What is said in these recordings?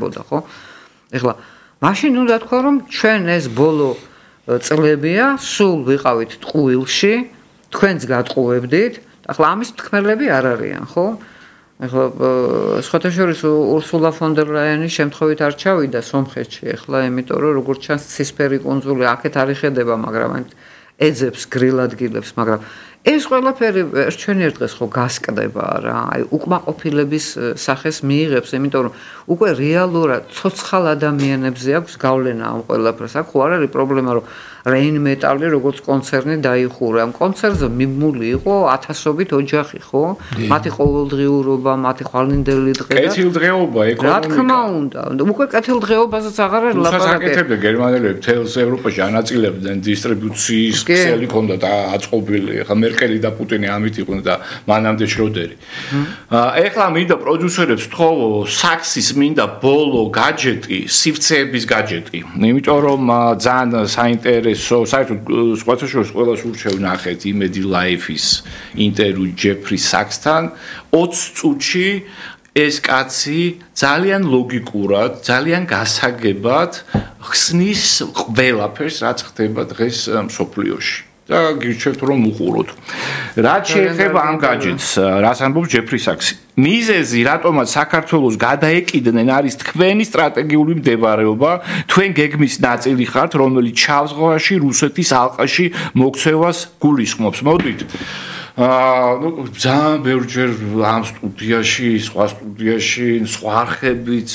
ხდებოდა, ხო? ეხლა მაშინ უნდა თქვა რომ ჩვენ ეს ბოლო წლებია სულ ვიყავით ტყუილში, თქვენც გატყუებდით, ახლა ამის თქმელები არ არიან, ხო? ეხლა სხვათა შორის ურსულა ფონ დერ ლაიენი შემთხვევით არ ჩავიდა სომხეთში, ეხლა იმიტომ რომ როგორც ჩანს ცისფერი კუნძული აქეთ არ იხედება, მაგრამ ეძებს გრილ ადგილებს, მაგრამ ეს ყველაფერი ჩვენ ერთ დღეს ხო გასკდება რა, აი უკმაყოფილების სახეს მიიღებს, იმიტომ რომ უკვე რეალურად ცოცხალ ადამიანებზე აქვს გავლენა ამ ყველაფერს. აქ ხო არ არის პრობლემა, რომ Rain Metal-ი როგორც კონცერნი დაიხურა. ამ კონცერტზე მიმული იყო ათასობით ოჯახი, ხო? მათი ყოველდღიურობა, მათი ხვალინდელი დღე და კეთილდღეობა, ეკონომიკა. რა თქმა უნდა, უკვე კეთილდღეობაზეც აღარ არის ლაპარაკი. საკეთებდა გერმანელები თელს ევროპაში ანაწილებდნენ დისტრიბუციის ქსელი ჰქონდათ აწყობილი. ეხლა მერკელი და პუტინი ამით იყვნენ და მანამდე შროდერი. ეხლა მინდა პროდიუსერებს თხოვო საქსის მინდა ბოლო გაჯეტი, სივცეების გაჯეტი. იმიტომ რომ ძალიან საინტერესო საერთოდ სხვათა შორის ყველას ურჩევ ნახეთ იმედი ლაიფის ინტერვიუ ჯეფრი საქსთან 20 წუთში ეს კაცი ძალიან ლოგიკურად, ძალიან გასაგებად ხსნის ყველაფერს, რაც ხდება დღეს მსოფლიოში. და გირჩევთ რომ უყუროთ. რაც შეეხება ამ გაჯეტს, რას ამბობს ჯეფრი საქსი. მიზეზი, რატომაც საქართველოს გადაეკიდნენ არის თქვენი სტრატეგიული მდებარეობა, თქვენ გეგმის ნაწილი ხართ, რომელიც ჩავზღვაში, რუსეთის ალყაში მოქცევას გულისხმობს. მოდით. ძალიან ბევრჯერ ამ სტუდიაში, სხვა სტუდიაში, სხვა არხებიც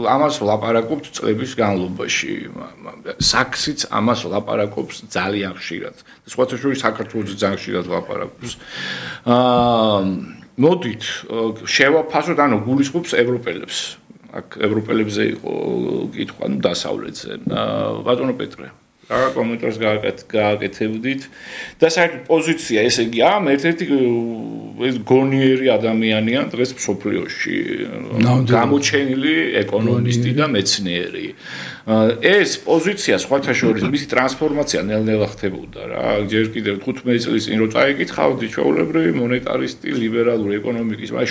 ამას ვლაპარაკობთ წლების განმავლობაში. საქსიც ამას ვლაპარაკობს ძალიან ხშირად. სხვათა შორის საქართველოს ძალიან ხშირად ვლაპარაკობს. მოდით, შევაფასოთ, ანუ გულისხმობს ევროპელებს. აქ ევროპელებზე იყო კითხვა, ну დასავლეთზე. ბატონო პეტრე რა კომენტარს გააკეთებდით და საერთოდ პოზიცია ესე იგი ამ ერთ-ერთი ეს გონიერი ადამიანია დღეს მსოფლიოში გამოჩენილი ეკონომისტი და მეცნიერი ეს პოზიცია სხვათა შორის მისი ტრანსფორმაცია ნელ-ნელა ხდებოდა რა ჯერ კიდევ 15 წლის წინ რო წაიკითხავდი ჩვეულებრივი მონეტარისტი ლიბერალური ეკონომიკის აი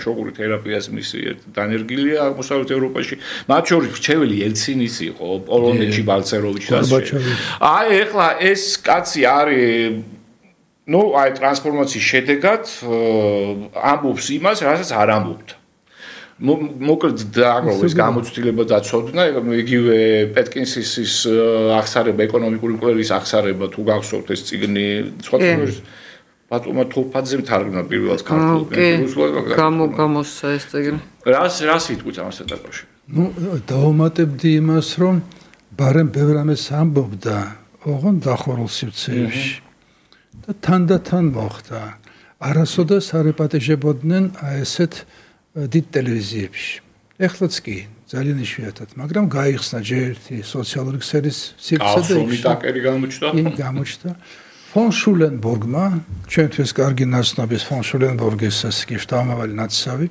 შოკური თერაპიას მისი დანერგილია აღმოსავლეთ ევროპაში მათ შორის რჩეველი ელცინის იყო პოლონეთში ბალცეროვიჩი აი ეხლა ეს კაცი არის ნუ აი ტრანსფორმაციის შედეგად ამბობს იმას, რასაც არ ამბობდა. მოკლედ დააგროვეს გამოცდილება დაცოდნა, იგივე პეტკინსის აღსარება, ეკონომიკური კვლევის აღსარება თუ გახსოვთ ეს წიგნი, სხვადასხვა ბატონმა თურფაძემ თარგმნა პირველად ქართულად. გამოსცა ეს წიგნი. რას იტყვით ამასთან დაკავშირებით? ნუ დავუმატებდი იმას, რომ ბარემ ბევრ ამას ამბობდა, ოღონდ დახურულ სივრცეებში. და თანდათან მოხდა. არასოდეს არ ეპატეჟებოდნენ ესეთ დიდ ტელევიზიებში. ეხლაც კი ძალიან იშვიათად, მაგრამ გაიხსნა ჯერ ერთი სოციალური ქსელის სივრცე და ტაკერი გამოჩნდა. გამოჩნდა. ფონ შულენბურგმა, ჩვენთვის კარგი ნაცნობის ფონ შულენბურგის კი შტამავალი ნაცსავი,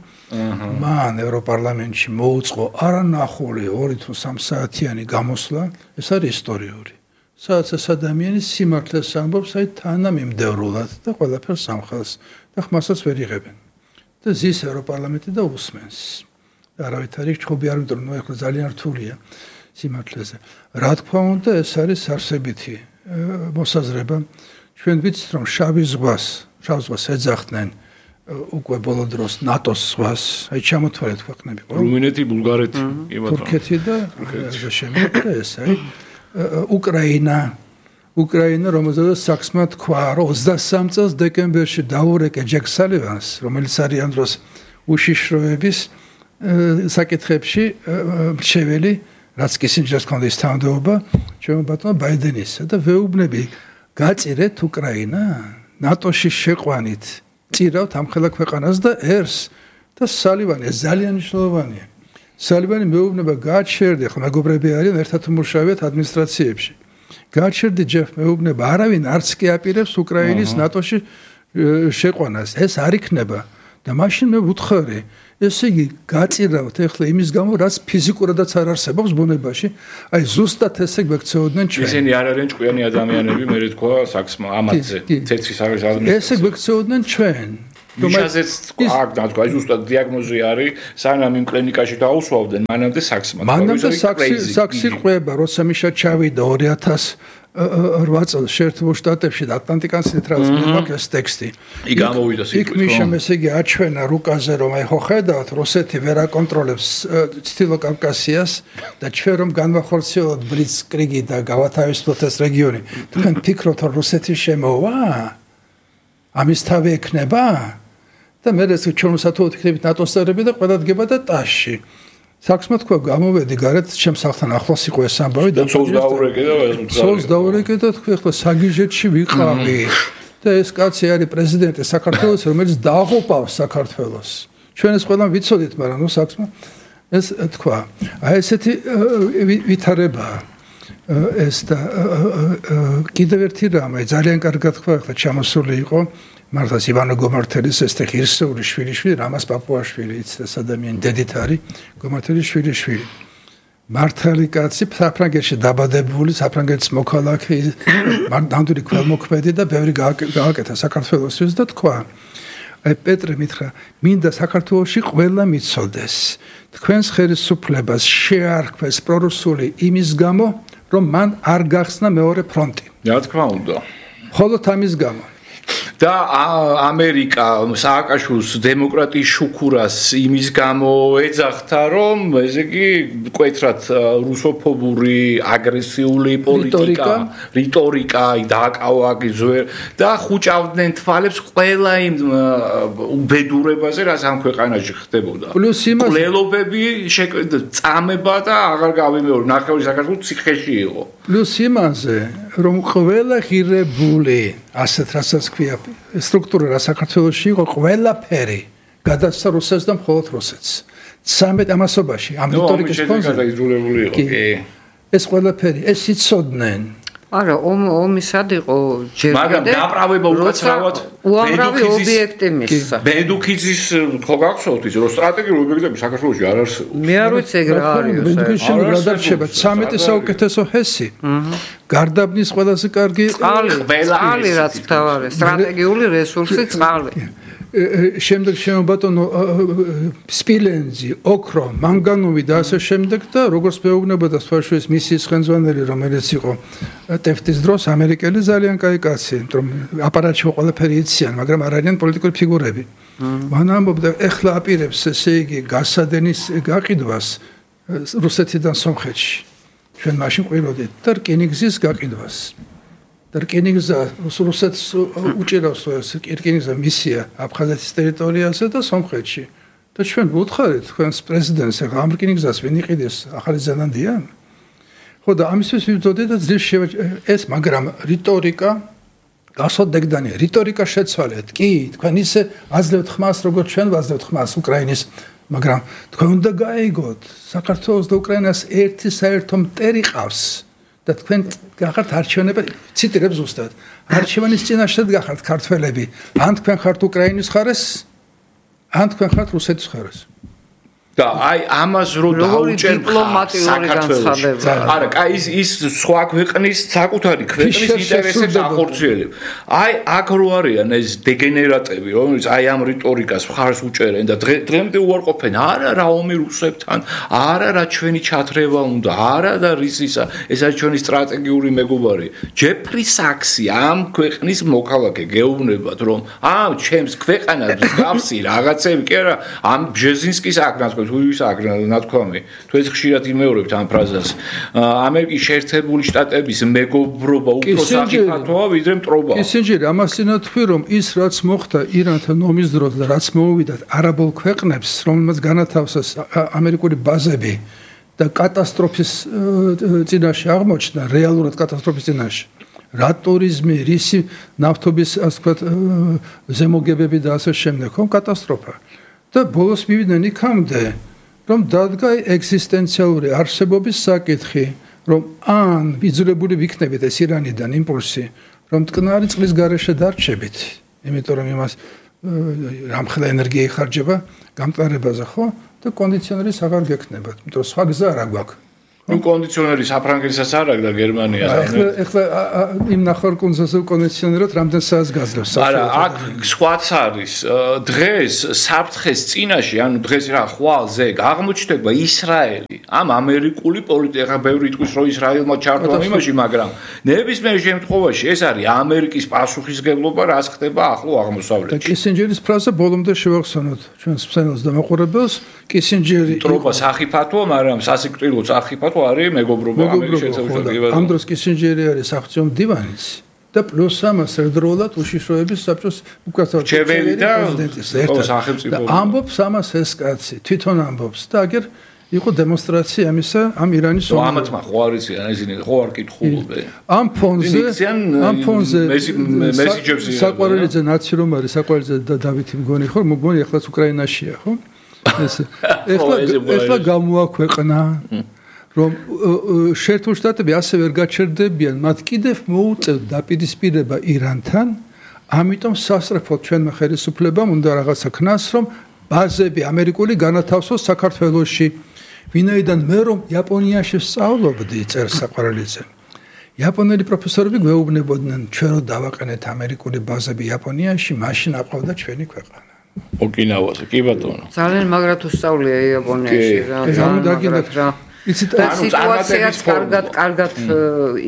მან ევროპარლამენტში მოუწყო არანახული 2 თუ 3 საათიანი გამოსვლა, ეს არის ისტორიული. სადაც ეს ადამიანი სიმართლეს ამბობს, აი თანამიმდევრულად და ყველაფერს ამხელს და ხმასაც ვერ იღებენ. და ზის ევროპარლამენტი და უსმენს. არავით არის ჩხუბი არ ვიტყვი, ნუ ეხლა ძალიან რთულია სიმართლეზე. რა თქმა უნდა, ეს არის არსებითი მოსაზრება. ჩვენ ვიცით, რომ შავ ზღვას ეძახდნენ უკვე ბოლო დროს ნატოს ზღვას, აი ჩამოთვალეთ ქვეყნები. რუმინეთი, ბულგარეთი, თურქეთი და შემდეგ ეს აი უკრაინა, რომელზეც საქსმა თქვა, რომ 23 წელს დეკემბერში დაურეკე ჯეკ სალივანს, რომელიც არის ამ დროს უშიშროების საკითხებში მრჩეველი, რაც კისინჯერს ჰქონდა ის თანამდებობა, ჩვენ ბატონო ბაიდენისა და ვეუბნები გაწირეთ უკრაინა, ნატოში შეყვანით, წირავთ ამხელა ქვეყანას და ერს და სალივანი ძალიან მნიშვნელოვანია. სალივანი მეუბნება გააჩერდი, ხო მეგობრები არიან, ერთად მუშაობთ ადმინისტრაციებში. გააჩერდი ჯეფ მეუბნება, არავინ არც კი აპირებს უკრაინის ნატოში შეყვანას. ეს არ იქნება და მაშინ მე ვუთხარი, ესე იგი გაწირავთ ეხლა იმის გამო, რაც ფიზიკურადაც არ არსებობს ბუნებაში. აი ზუსტად ესე გვექცეოდნენ ჩვენ. ისინი არ არიან ჭკვიანი ადამიანები, მე თქვა საქსმა ამათზე. თეთრი საგზავნე. ესე გვექცეოდნენ ჩვენ. მიშაზეც აქ დათქვა, ზუსტად დიაგნოზი არის, სანამ იმ კლინიკაში დაუსვავდნენ, მანამდე საქსმა. მანამდე საქსი ყვება, როცა მიშა ჩავიდა 2008 წელს შეერთებულ შტატებში და ატლანტიკანს ლიტერატურის მეფაკეს ტექსტი. იქ გამოვიდა სიტყვით. იქ მიშამ ესე იგი აჩვენა რუკაზე, რომ აი ხო ხედავთ, რუსეთი ვერ აკონტროლებს ცდილო კავკასიას და ჩვენ რომ განვახორციელოთ ბლიცკრიგი და გავათავისუფლოთ ეს რეგიონი. თქვენ ფიქრობთ, რომ რუსეთი შემოვა? ამის თავი ექნება? და მე ეს ჩვენ მოსათხოვოთ იქნებით ნატოს წევრები და ყველა დგება და ტაში. საქსმა თქვა გამოვედი გარეთ ჩემს სახლთან ახლოს იყო ეს ამბავი და ცოლს დაურეკე და თქვი ახლა საგიჟეთში ვიყავი და ეს კაცი არის პრეზიდენტი საქართველოს რომელიც დააღუპავს საქართველოს ჩვენ ეს ყველა ვიცოდით მაგრამ ნუ საქსმა ეს თქვა აი ესეთი ვითარებაა ეს და კიდევ ერთი რამ აი ძალიან კარგად თქვა ახლა ჩამოსული იყო მართლაც ივანო გომართელის ეს ღირსეული შვილიშვილი რამას პაპუაშვილი იცის ადამიანი დედით არის გომართელის შვილიშვილი მართალი კაცი საფრანგეთში დაბადებული საფრანგეთის მოქალაქე ნამდვილი ქველმოქმედი და ბევრი გააკეთა საქართველოსთვის და თქვა აი პეტრე მითხრა მინდა საქართველოში ყველა მიცოდეს თქვენს ხელისუფლებას შეარქვეს პრორუსული იმის გამო რომ მან არ გახსნა მეორე ფრონტი რა თქმა უნდა მხოლოდ ამის გამო და ამერიკა სააკაშვილის დემოკრატიის შუქურას იმის გამო ეძახდა რომ ესე იგი მკვეთრად რუსოფობური აგრესიული პოლიტიკა რიტორიკა დააკავა ზვერ და ხუჭავდნენ თვალებს ყველა იმ უბედურებაზე რაც ამ ქვეყანაში ხდებოდა პლუს იმას ყველობები წამება და აღარ გავიმეორე ნახევარი საქართველოს ციხეში იყო პლუს იმაზე რომ ყველა ღირებული ასეთ რასაც ქვია სტრუქტურა რა საქართველოში იყო ყველაფერი გადასცა რუსეთს და მხოლოდ რუსეთს 13 ამასობაში ამ რიტორიკის ფონზე იყო კი ეს ყველაფერი ეს იცოდნენ არა ომისად იყო ჯერ მაგრამ დაправება უკაცრავად უამრავი ობიექტი მისცა ბედუქიძის ხო გახსოვთ ის რომ სტრატეგიული ობიექტები საქართველოში არ არსებობს მე არ ვიცი ეგ რა არის ბედუქიძის რა დარჩება 13 საუკეთესო ჰესი გარდაბნის ყველაზე კარგი წყალი რაც თავარი სტრატეგიული რესურსი წყალი შემდეგ შემობატონო სპილენძი, ოქრო, მანგანუმი და ასე შემდეგ და როგორც მეუბნებოდა სხვაშორის მისის ხელმძღვანელი რომელიც იყო ტეფტის დროს ამერიკელი ძალიან კაი კაცი, რომ აპარატში ყველაფერი იციან, მაგრამ არ არიან პოლიტიკური ფიგურები. მან ამბობდა, ეხლა აპირებს ესე იგი გასადენის გაყიდვას რუსეთიდან სომხეთში. ჩვენ მაშინ ყვიროდით და რკინიგზის გაყიდვას. და რკინიგზა რუსეთს უჭირავს ეს რკინიგზა მისია აფხაზეთის ტერიტორიაზე და სომხეთში და ჩვენ ვუთხარით თქვენს პრეზიდენტს ახლა ამ რკინიგზას ვინ იყიდეს ახალი ზელანდია ხო და ამისთვის ვიბრძოდით და ძლივ ეს მაგრამ რიტორიკა გასოდეგდანია რიტორიკა შეცვალეთ კი თქვენ ისე აძლევთ ხმას როგორც ჩვენ ვაძლევთ ხმას უკრაინის მაგრამ თქვენ უნდა გაიგოთ საქართველოს და უკრაინას ერთი საერთო მტერი ყავს და თქვენ გახართ არჩევნები ციტირებ ზუსტად არჩევანის წინაშე გახართ ქართველები ან თქვენ ხართ უკრაინის ხარეს ან თქვენ ხართ რუსეთის ხარეს და აი ამას რო დაუჭერ დიპლომატიური განცხადება არა კაი ის სხვა ქვეყნის საკუთარი ქვეყნის ინტერესებს ახორციელებს აი აქ რო არიან ეს დეგენერატები რომელიც აი ამ რიტორიკას მხარს უჭერენ და დღემდე უარყოფენ არა რა ომი რუსებთან არა რა ჩვენი ჩათრევა უნდა არა და რისისა ეს არის ჩვენი სტრატეგიული მეგობარი ჯეფრი საქსი ამ ქვეყნის მოქალაქე გეუბნებათ რომ ამ ჩემს ქვეყანას გავსი რაღაცები კი არა ამ ბჟეზინსკის აკრას ის ნათქვამი თუ ეს ხშირად იმეორებთ ამ ფრაზას ამერიკის შეერთებული შტატების მეგობრობა უფრო საფრთხეა ვიდრე მტრობა ისინჯერი ამას წინა თქვი რომ ის რაც მოხდა ირანთან ომის დროს და რაც მოუვიდათ არაბულ ქვეყნებს რომელმაც განათავსეს ამერიკული ბაზები და კატასტროფის წინაშე აღმოჩნდა რეალურად კატასტროფის წინაშე რა ტურიზმი რისი ნავთობის ასე ვთქვათ ზემოგებები და ასე შემდეგ ხო კატასტროფა და ბოლოს მივიდნენ იქამდე რომ დადგა ეგზისტენციალური არსებობის საკითხი რომ ან ბიძულებული ვიქნებით ეს ირანიდან იმპულსი რომ მტკნარი წყლის გარეშე დარჩებით იმიტომ რომ იმას რამხელა ენერგია იხარჯება გამტარებაზე ხო და კონდიციონერის აღარ გექნებათ იმიტომ რომ სხვა გზა არ გვაქვს ნუ კონდიციონერი საფრანგეთსაც არ აქვს და გერმანიას. ეხლა იმ ნახევარკუნძულზე კონდიციონერად რამდენ საათს გაძლევს? არა, აქ სხვაც არის. დღეს საფრთხეს წინაშე, ანუ დღეს რა ხვალზე აღმოჩნდება ისრაელი. ამ ამერიკული პოლიტიკა ბევრი იტყვის, რომ ისრაელმა ჩართვა იმაში, მაგრამ ნებისმიერ შემთხვევაში ეს არის ამერიკის პასუხისმგებლობა, რაც ხდება ახლო აღმოსავლეთში. და კისინჯერის ფრაზა ბოლომდე შევახსენოთ ჩვენს მსმენელს და მაყურებელს. კისინჯერი ტროპა სახიფათოა, მაგრამ სასიკვდილო სახიფათო არის მეგობრობა ამერიკის შეერთებულ ამ დროს კისინჯერი არის საღვთო დივანიც და პლუს ამას ერთდროულად უშიშროების საბჭოს მრჩეველი და სახელმწიფო ამბობს ამას ეს კაცი თვითონ ამბობს და აგერ იყო დემონსტრაცია ამისა ამ ირანის ამათ ხო არის ისინი ხო არ კითხულობენ ამ ფონზე მესიჯებზე საყვარელიძე ნაცი რომ არის საყვარელიძე და დავითი მგონი ხო მგონი ახლაც უკრაინაშია ხო ეხლა გამოაქვეყნა რომ შეერთებული შტატები ასე ვერ გაჩერდებიან მათ კიდევ მოუწევთ დაპირისპირება ირანთან ამიტომ სასწრაფოდ ჩვენმა ხელისუფლებამ უნდა რაღაცა ქნას რომ ბაზები ამერიკული განათავსოს საქართველოში ვინაიდან მე რომ იაპონიაში სწავლობდი წერს საყვარელიძე იაპონელი პროფესორები გვეუბნებოდნენ ჩვენ რომ დავაყენეთ ამერიკული ბაზები იაპონიაში მაშინ აყვავდა ჩვენი ქვეყანა ოკინავაზე კი ბატონო ძალიან მაგრად უსწავლია იაპონიაში რა ძალიან მაგრად რა სიტუაციაც კარგად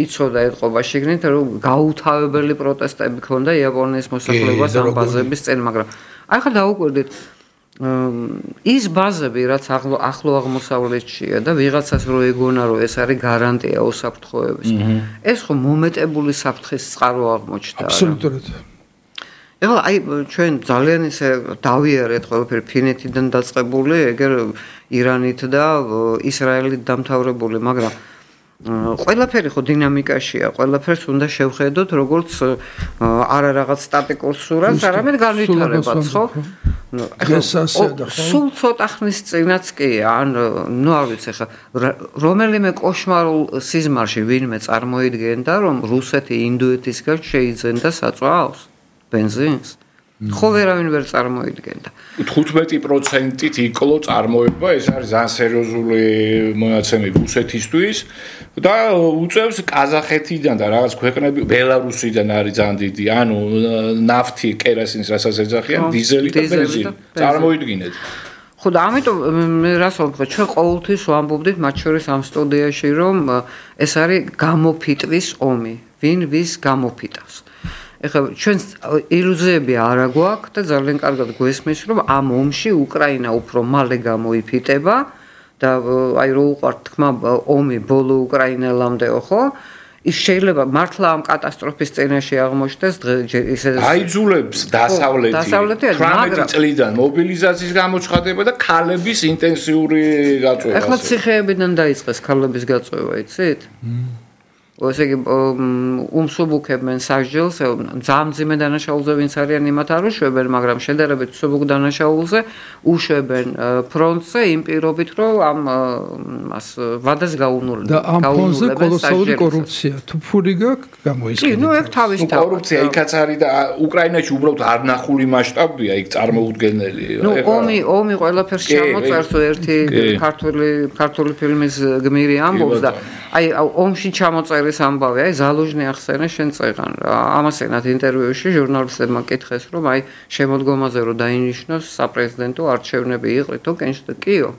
იცოდა ეთყობა შეგნით რომ გაუთავებელი პროტესტები ქონდა იაპონიის მოსახლეობას ამ ბაზების წინ მაგრამ აი ხა დაუკვირდით ის ბაზები რაც ახლო აღმოსავლეთშია და ვიღაცას რო ეგონა რომ ეს არის გარანტია უსაფრთხოების ეს ხო მომეტებული საფრთხის წყარო აღმოჩნდა აბსოლუტურად ეხლა აი ჩვენ ძალიან ისე დავიარეთ ყველაფერი ფინეთიდან დაწყებული ეგერ ირანით და ისრაელით დამთავრებული მაგრამ ყველაფერი ხო დინამიკაშია ყველაფერს უნდა შევხედოთ როგორც არა რაღაც სტატიკურ სურათს არამედ განვითარებას ხო სულ ცოტა ხნის წინაც კი ან ნუ არ ვიცი ხა რომელიმე კოშმარულ სიზმარში ვინმე წარმოიდგენდა რომ რუსეთი ინდოეთისგან შეიძენდა საწვავს ბენზინს ხო ვერავინ ვერ წარმოიდგენდა 15%-ით იკლო წარმოება ეს არის ძალიან სერიოზული მონაცემები რუსეთისთვის და უწევს ყაზახეთიდან და რაღაც ქვეყნები ბელარუსიდან არის ძალიან დიდი ანუ ნავთი კეროსინის რასაც ეძახიან დიზელი და ბენზინი წარმოიდგინეთ ხო და ამიტომ მე რას ვამბობ ჩვენ ყოველთვის ვამბობდით მათ შორის ამ სტუდიაში რომ ეს არის გამოფიტვის ომი ვინ ვის გამოფიტავს ეხლა ჩვენ ილუზიები არ აგვაქვს და ძალიან კარგად გვესმის რომ ამ ომში უკრაინა უფრო მალე გამოიფიტება და აი რო უყვართ თქმა ომი ბოლო უკრაინელამდეო ხო ის შეიძლება მართლა ამ კატასტროფის წინაშე აღმოჩნდეს ისე აიძულებს დასავლეთი 18 წლიდან მობილიზაციის გამოცხადება და ქალების ინტენსიური გაწვევა ეხლა ციხეებიდან დაიწყეს ქალების გაწვევა იცით ესე იგი უმსუბუქებენ სასჯელს ძამძიმე დანაშაულზე ვინც არიან იმათ არ უშვებენ მაგრამ შედარებით მსუბუქ დანაშაულზე უშვებენ ფრონტზე იმ პირობით რომ ამ მას ვადას გაუნულებენ და ამ ფონზე კოლოსალური კორუფცია თუ ფული გაქვს გამოისკენთ კი ნუ ეგ თავის კორუფცია იქაც არის და უკრაინაში უბრალოდ არ ნახული მასშტაბია იქ წარმოუდგენელი ნუ ომი ყველაფერს ჩამოწერს ერთი ქართული ფილმის გმირი ამბობს და აი ომში ჩამოწერის ამბავი აი ზალუჟნი ახსენე შენ წეღან რა ამასენად ინტერვიუში ჟურნალისტებმა კითხეს რომ აი შემოდგომაზე რომ დაინიშნოს საპრეზიდენტო არჩევნები იყრითო კენშტკიო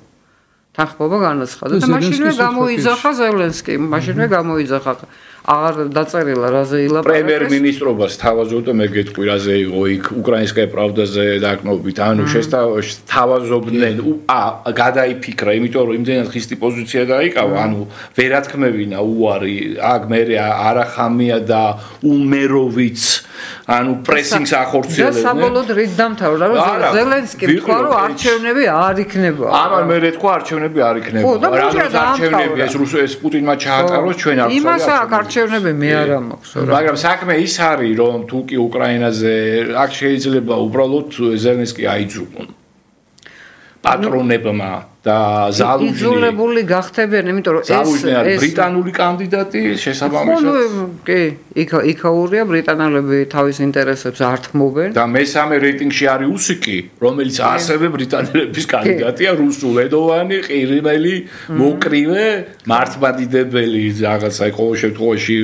თანხმობა განაცხადა და მაშინვე გამოიძახა ზელენსკი მაშინვე გამოიძახა აღარ დაწერილა რაზე ილაპარაკეს პრემიერ-მინისტრობას თავაზობდა მე გეტყვი რაზე იყო იქ უკრაინსკაია პრავდაზე დაკნობით ანუ თავაზობდნენ გადაიფიქრა იმიტომ რომ იმდენად ხისტი პოზიცია დაიკავა ანუ ვერათქმევინა უარი აქ მე არახამია და უმეროვიც ანუ პრესინგს ახორციელებდნენ და საბოლოოდ რით დამთავრდა რომ ზელენსკი თქვა რომ არჩევნები არ იქნება ამან მე თქვა არჩევნები არ იქნება რა არჩევნები ეს პუტინმა ჩაატაროს ჩვენ არ იმასა არჩევნები მე არ მაქვს მაგრამ საქმე ის არის რომ თუ კი უკრაინაზე აქ შეიძლება უბრალოდ ზელენსკი აიძულონ პატრონებმა და ზალუჟნი იძულებული გახდებიან, იმიტომ რომ ზალუჟნი ბრიტანული კანდიდატი შესაბამისად. კი, იქაურია ბრიტანელები თავის ინტერესებს ართმობენ. და მესამე რეიტინგში არის უსიკი, რომელიც ასევე ბრიტანელების კანდიდატია, რუსულენოვანი, ყირიმელი, მოკრივე, მართლმადიდებელი რაღაცა ყოველ შემთხვევაში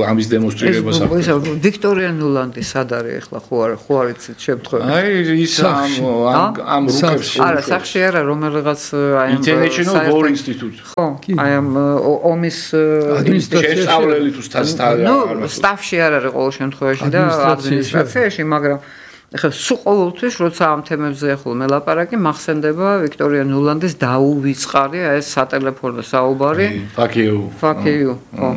ამის დემონსტრირებას აქვს. ვიქტორია ნულანდი სად არის ახლა ხო არ იცით შემთხვევა? აი ის ამ რუკებს არა, სახში არა, რომელიღაც აი ამ International War Institute. ხო, აი ამ ომის შესწავლელი თუ ნუ სტაფში არ არის ყოველ შემთხვევაში და ადმინისტრაციაში, მაგრამ ეხლა სულ ყოველთვის როცა ამ თემებზე ახლა მელაპარაკი მახსენდება ვიქტორია ნულანდის დაუვიწყარი ეს სატელეფონო საუბარი. Fuck you. ხო.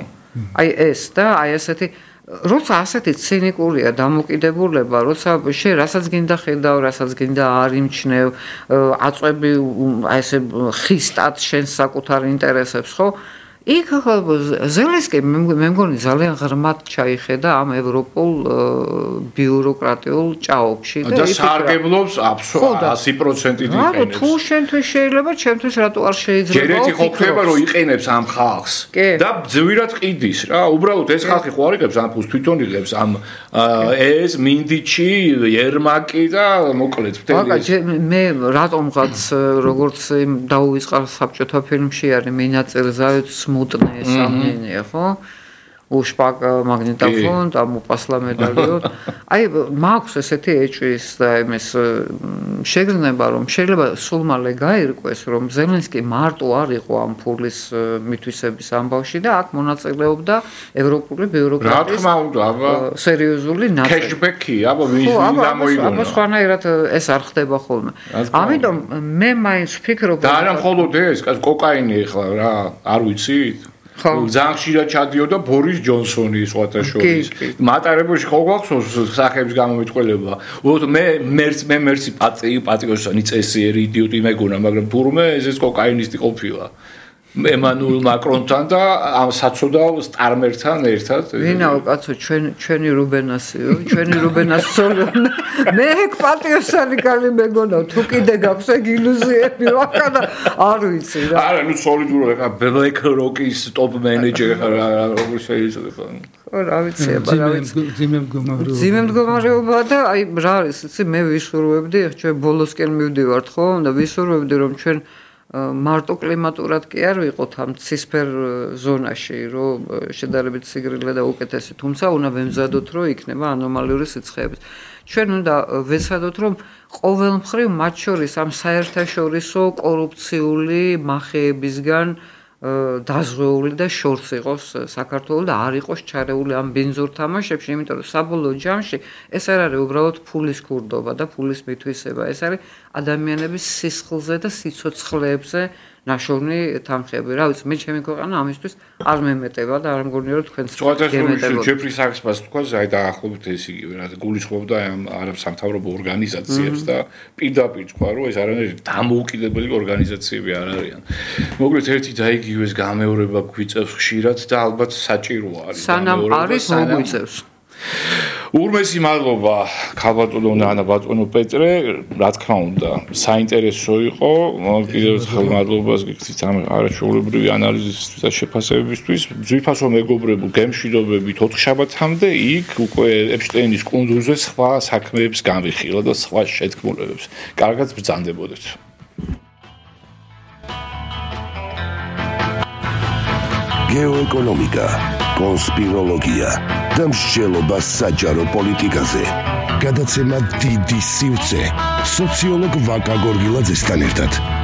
აი ეს და აი ესეთი როცა ასეთი ცინიკურია დამოკიდებულება, როცა შენ რასაც გინდა ხედავ, რასაც გინდა არ იმჩნევ, აწვევი აი ესე ხისტად შენ საკუთარ ინტერესებს, ხო? იქ ზელენსკი მე მგონი ძალიან ღრმად ჩაიხედა ამ ევროპულ ბიუროკრატიულ ჭაობში და სარგებლობს 100% იყენებს. რა თუ შენთვის შეიძლება, ჩემთვის რატო არ შეიძლება? ჯერ ერთი ხო ხდება რომ იყენებს ამ ხალხს და ძვირად ყიდის რა. უბრალოდ ეს ხალხი ხო არ იღებს ამ ფულს, თვითონ იღებს ამ ეს მინდიჩი, ერმაკი და მოკლედ მთელი. მე რატომღაც როგორც დაუვიწყარ საბჭოთა ფილმში არის მინაწილზავით смутное сомнение, ხო? უშპაკ მაგნიტოფონ და მოპასლა медаლიო. აი მაქვს ესეთი ეჭვის და იმის შეგრძნება რომ შეიძლება სულ მალე გაირკვეს რომ ზელენსკი მარტო არ იყო ამ ფულის მითვისების ამბავში და აქ მონაწილეობდა ევროპული ბიუროკრატიის რა თქმა უნდა, აბა სერიოზული ნაწილი. კეშბექი, აბა ვინ გამოიგონა. აბა სხვანაირად ეს არ ხდება ხოლმე. ამიტომ მე მაინც ვფიქრობ და არა მხოლოდ ეს, კოკაინი ახლა რა, არ ვიცით? ძალიან ხშირად ჩადიოდა ბორის ჯონსონი სხვათა შორის. მატარებელში ხო გვაქვს სახეების გამომიტყველება. უბრალოდ მე მერცი პატრიოტი წესიერი იდიოტი მეგონა, მაგრამ თურმე ეს კოკაინისტი ყოფილა. ემანუელ მაკრონთან და ამ საცოდავ სტარმერთან ერთად. ვინაო კაცო, ჩვენი რუბენასიო, ჩვენი რუბენასწოლო. მე ეგ პატრიოტი კალი მეგონა, თუ კიდე გაქვს ეგ ილუზიები, ვაკადა არ ვიცი რა. არა, ნუ სოლიდური ხა Black Rock-ის top manager ხა როგორ შეიძლება. ხო, რა ვიცი, აბა რა ვიცი. ძიმე მდგომარეობა და აი რა არის, იცი, მე ვისურვებდი, ჩვენ ბოლოსკენ მივდივართ ხო და ვისურვებდი რომ ჩვენ მარტო კლიმატურად კი არ ვიყოთ ამ ცისფერ ზონაში, რომ შედარებით სიგრილე და უკეთესი, თუმცა უნდა ვემზადოთ, რომ იქნება ანომალიური სიცხეები. ჩვენ უნდა ვეცადოთ, რომ ყოველ მხრივ მათ შორის ამ საერთაშორისო კორუფციული მახეებისგან დაზღვეული და შორს იყოს საქართველოს და არ იყოს ჩარეული ამ ბინძურ თამაშებში, იმიტომ რომ საბოლოო ჯამში ეს არ არის უბრალოდ ფულის ქურდობა და ფულის მითვისება, ეს არის ადამიანების სისხლზე და სიცოცხლეებზე ნაშოვნი თანხები. რა ვიცი, მე ჩემი ქვეყანა ამისთვის არ მემეტება და არ მგონია რომ თქვენც გემეტებოდა. ჯეფრი საქსმას თქვა, აი დაახლოებით ეს იგივე რა გულისხმობდა ამ არაბსამთავრობო ორგანიზაციებს და პირდაპირ თქვა, რომ ეს არანაირი დამოუკიდებელი ორგანიზაციები არ არიან. მოკლედ ერთი და იგივეს გამეორება გვიწევს ხშირად და ალბათ საჭირო არის. სანამ არის მოგვიწევს. ურმესი მადლობა ქალბატონო ნანა ბატონო პეტრე, რა თქმა უნდა, საინტერესო იყო, კიდევ ერთხელ მადლობას გიხდით ამ არაჩვეულებრივი ანალიზისთვის და შეფასებებისთვის. ძვირფასო მეგობრებო, გემშვიდობებით 4 შაბათამდე იქ უკვე ეპშტეინის კუნძულზე სხვა საქმეებს განვიხილა და სხვა შეთქმულებებს. კარგად ბრძანდებოდეთ. გეოეკონომიკა, კონსპიროლოგია და მსჯელობა საჯარო პოლიტიკაზე. გადაცემა დიდი სივრცე სოციოლოგ ვაკა გორგილაძესთან ერთად.